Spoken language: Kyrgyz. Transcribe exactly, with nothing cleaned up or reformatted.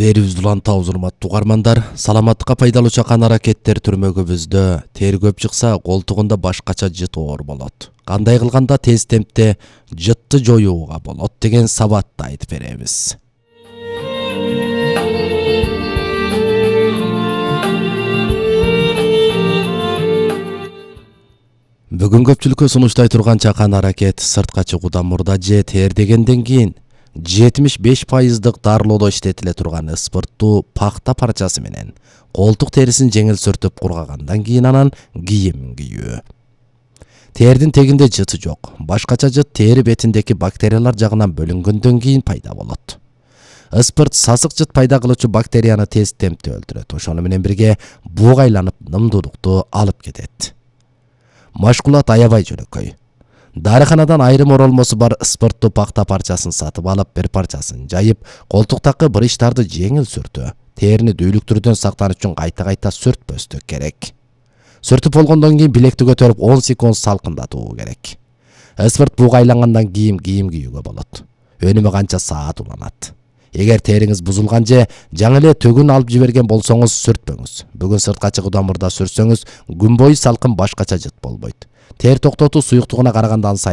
Берибиз улантабыз, урматтуу угармандар. Саламаттыкка пайдалуу чакан аракеттер түрмөгүбүздө тери көп чыкса, колтугунда башкача жыт оор болот. Кандай кылганда тез темпте жытты жоюуга болот деген сабатты айтып беребиз. Бүгүн көпчүлүккө сунуштай турган чакан аракет сыртка чыгуудан мурда же тер дегенден кийин жетимиш беш пайыздык дарылоодо иштетиле турган ыспырттуу пахта парчасы менен колтук терисин жеңил сүртүп кургагандан кийин анан кийим кийүү. Тердин тегинде жыты жок. Башкача жыт тери бетиндеги бактериялар жагынан бөлүнгөндөн кийин пайда болот. Ыспырт сасык жыт пайда кылуучу бактерияны тез темпте өлтүрөт. Ошону менен бирге буг айланып нымдуулукту алып кетет. Машкулат аябай жөнөкөй. Дарыканадан айрым оролмосу бар ыспырттуу пахта парчасын сатып алып, бир парчасын жайып, колтуктагы брычтарды жеңил сүртүү. Терини дүүлүктүрүүдөн сактануу үчүн кайта-кайта сүртпөстүк керек. Сүртүп болгондон кийин билекти көтөрүп он секунд салкындатуу керек. Ыспырт буг айлангандан кийин кийим кийүүгө болот. Өнүмү канча саат уланат. Эгер териңиз бузулган же жаңы эле төгүн алып жиберген болсоңуз сүртпөңүз. Бүгүн сыртка чыгуудан мурда сүртсөңүз күн бою салкын башкача жыт болбойт. Тер токтотуу суюктугуна караганда ансайын